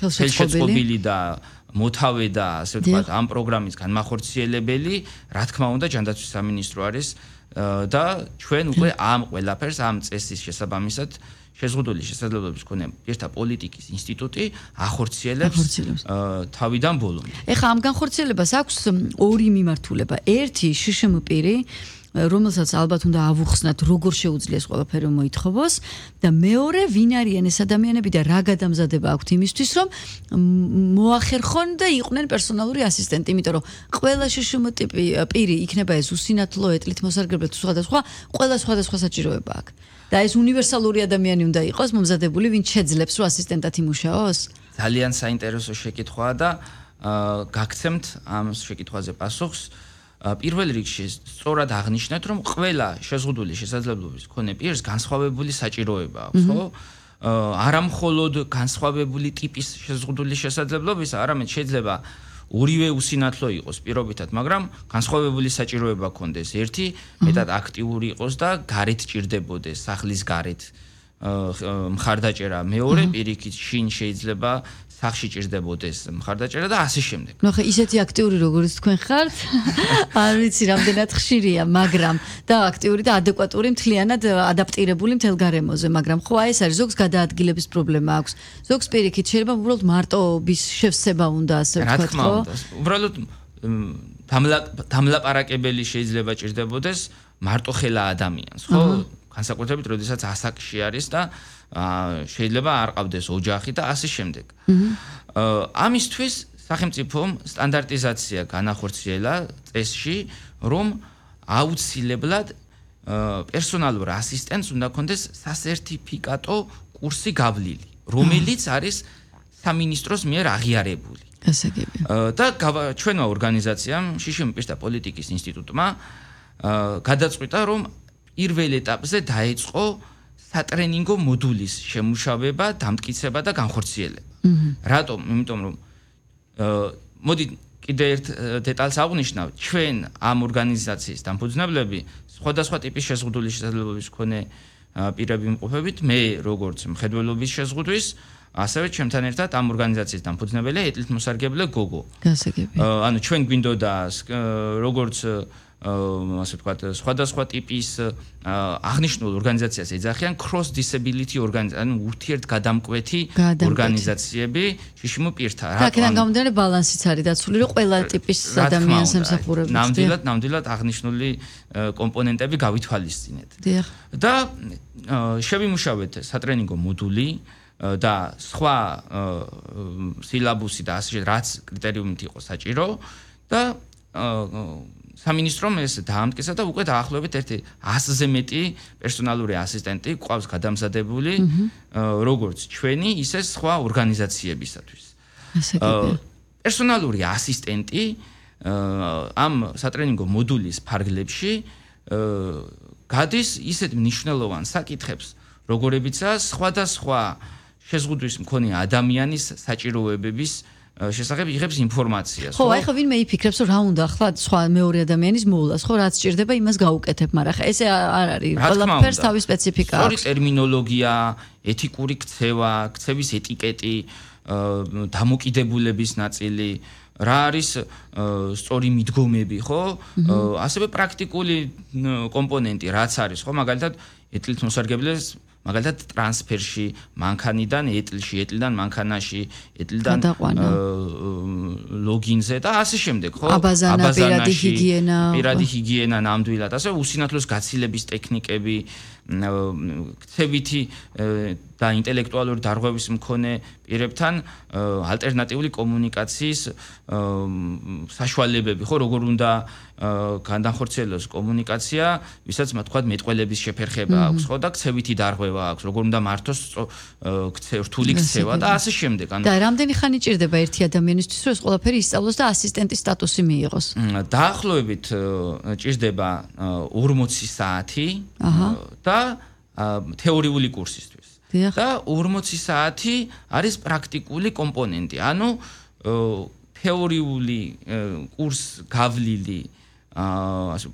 ხელშეწყობილი და მოთავე და ასე ვთქვათ ამ პროგრამის განმახორციელებელი, რა თქმა უნდა, ჯანდაცვის სამინისტრო არის და ჩვენ უკვე ამ ყველაფერს ამ წესის შესაბამისად შეზღუდული შესაძლებლობის მქონე პირთა პოლიტიკის ინსტიტუტი ახორციელებს თავიდან ბოლომდე. ეხლა ამ განხორციელებას აქვს ორი მიმართულება. ერთი შშმ პირი, რომელსაც ალბათ უნდა ავუხსნათ, როგორ შეუძლია ეს ყველაფერი მოითხოვოს და მეორე ვინ არიან ეს ადამიანები და რა გადამზადება აქვთ იმისთვის, რომ მოახერხონ და იყვნენ პერსონალური ასისტენტი, იმიტომ რომ ყველა შშმ ტიპი პირი იქნება ეს უსინათლო, ეტლით მოსარგებლე თუ სხვადასხვა, ყველა სხვადასხვა საჭიროება აქვს. და ეს უნივერსალური ადამიანი უნდა იყოს მომზადებული, ვინც შეძლებს რომ ასისტენტად იმუშაოს? ძალიან საინტერესო შეკითხვაა და გაგცემთ ამ შეკითხვაზე პასუხს. პირველ რიგში სწორად აღნიშნეთ, რომ ყველა შეზღუდული შესაძლებლობის მქონე პირს განსხვავებული საჭიროება აქვს, ხო? არა მხოლოდ განსხვავებული ტიპის შეზღუდული შესაძლებლობისა, არამედ შეიძლება ორივე უსინათლო იყოს პირობითად, მაგრამ განსხვავებული საჭიროება ჰქონდეს. ერთი მეტად აქტიური იყოს და გარეთ ჭირდებოდეს, სახლის გარეთ მხარდაჭერა. მეორე პირიქით შინ შეიძლება სახში ჭირდებოდეს მხარდაჭერა და ასე შემდეგ. ნუ ხა ისეთი აქტიური როგორც თქვენ ხართ, არ ვიცი რამდენად ხშირია, მაგრამ და აქტიური და ადეკვატური მთლიანად ადაპტირებული მთელ გარემოზე, მაგრამ ხო აი ეს არის ზოგს გადაადგილების პრობლემა აქვს. ზოგს პირიქით შეიძლება უბრალოდ მარტოობის შევსება უნდა ასე ვთქვათ, ხო? უბრალოდ დამლაპარაკებელი შეიძლება ჭირდებოდეს მარტოხელა ადამიანს, ხო? განსაკუთრებით, როდესაც ასაკში არის და შეიძლება არ ყავდეს ოჯახი და ასე შემდეგ. ამისთვის სახელმწიფომ სტანდარტიზაცია განახორციელა წესში, რომ აუცილებლად პერსონალურ ასისტენტს უნდა ჰქონდეს სასერტიფიკატო კურსი გავლილი, რომელიც არის სამინისტროს მიერ აღიარებული. გასაგები. და ჩვენმა ორგანიზაციამ, შშმ პირთა პოლიტიკის ინსტიტუტმა გადაწყვიტა, რომ პირველ ეტაპზე დაეწყო სატრენინგო მოდულის შემუშავება, დამტკიცება და განხორციელება. რატომ? იმიტომ რომ მოდი კიდე ერთ დეტალს აღვნიშნავ, ჩვენ ამ ორგანიზაციის დამფუძნებლები სხვადასხვა ტიპის შეზღუდული შესაძლებლობის მქონე პირები ვიმყოფებით, მე როგორც მხედველობის შეზღუდვის, ასევე ჩემთან ერთად ამ ორგანიზაციის დამფუძნებელია ეტლით მოსარგებლე გოგო. გასაგები. ანუ ჩვენ გვინდოდა როგორც ასე ვთქვათ, სხვადასხვა ტიპის აღნიშნულ ორგანიზაციას ეძახიან cross disability organization, ანუ ურთიერთგადამკვეთი ორგანიზაციები შშმ პირთა. და აქედან გამომდინარე ბალანსიც არის დაცული, რომ ყველა ტიპის ადამიანს ემსახურებს. ნამდვილად აღნიშნული კომპონენტები გავითვალისწინეთ. დიახ. და შევიმუშავეთ სატრენინგო მოდული და სხვა სილაბუსი და ასე რაც კრიტერიუმით იყო საჭირო და სამინისტრომ ეს დაამტკიცა და უკვე დაახლოებით 100-ზე მეტი პერსონალური ასისტენტი ყავს გადამზადებული როგორც ჩვენი, ისე სხვა ორგანიზაციებისათვის. პერსონალური ასისტენტი ამ სატრენინგო მოდულის ფარგლებში გადის ისეთ მნიშვნელოვან საკითხებს, როგორებიცაა სხვადასხვა შეზღუდვის მქონე ადამიანის საჭიროებების შესახებ იღებს ინფორმაციას. ხო, ახლა ვინმე იფიქრებს, რომ რა უნდა ახლა სხვა მეორე ადამიანის მოვლას, ხო, რაც სჭირდება, იმას გაუკეთებ, მაგრამ ახლა ესე არ არის. ყველაფერს თავის სპეციფიკა აქვს. სწორი ტერმინოლოგია, ეთიკური ქცევა, ქცევის ეტიკეტი, დამოკიდებულების ნაწილი, რა არის სწორი მიდგომები, ხო? ასევე პრაქტიკული კომპონენტი, რაც არის, ხო, მაგალითად, ეტლით მოსარგებლეს მაგალითად ტრანსფერში მანქანიდან ეტლში, ეტლიდან მანქანაში, ეტლიდან ლოგინზე და ასე შემდეგ, ხო? აბაზანა, პირადი ჰიგიენა ნამდვილად, ასე უსინათლოს გაცილების ტექნიკები, ქცევითი და ინტელექტუალური დარღვევის მქონე პირებთან ალტერნატიული კომუნიკაციის საშუალებები, ხო, როგორ უნდა განახორციელოს კომუნიკაცია, ვისაც თქვათ მეტყველების შეფერხება აქვს, ხო, და ქცევითი დარღვევა აქვს, როგორ უნდა მართოს რთული ქცევა და ასე შემდეგ. და რამდენი ხანი ჭირდება ერთი ადამიანისთვის, რომ ეს ყველაფერი ისწავლოს და ასისტენტის სტატუსი მიიღოს? დაახლოებით ჭირდება 40 საათი და თეორიული კურსისთვის. და 40 საათი არის პრაქტიკული კომპონენტი. ანუ თეორიული კურს გავლილი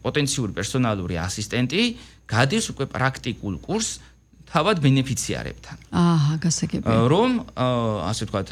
პოტენციური პერსონალური ასისტენტი გადის უკვე პრაქტიკულ კურსს თავად ბენეფიციარებთან. აჰა, გასაგებია. რომ ასე ვთქვათ,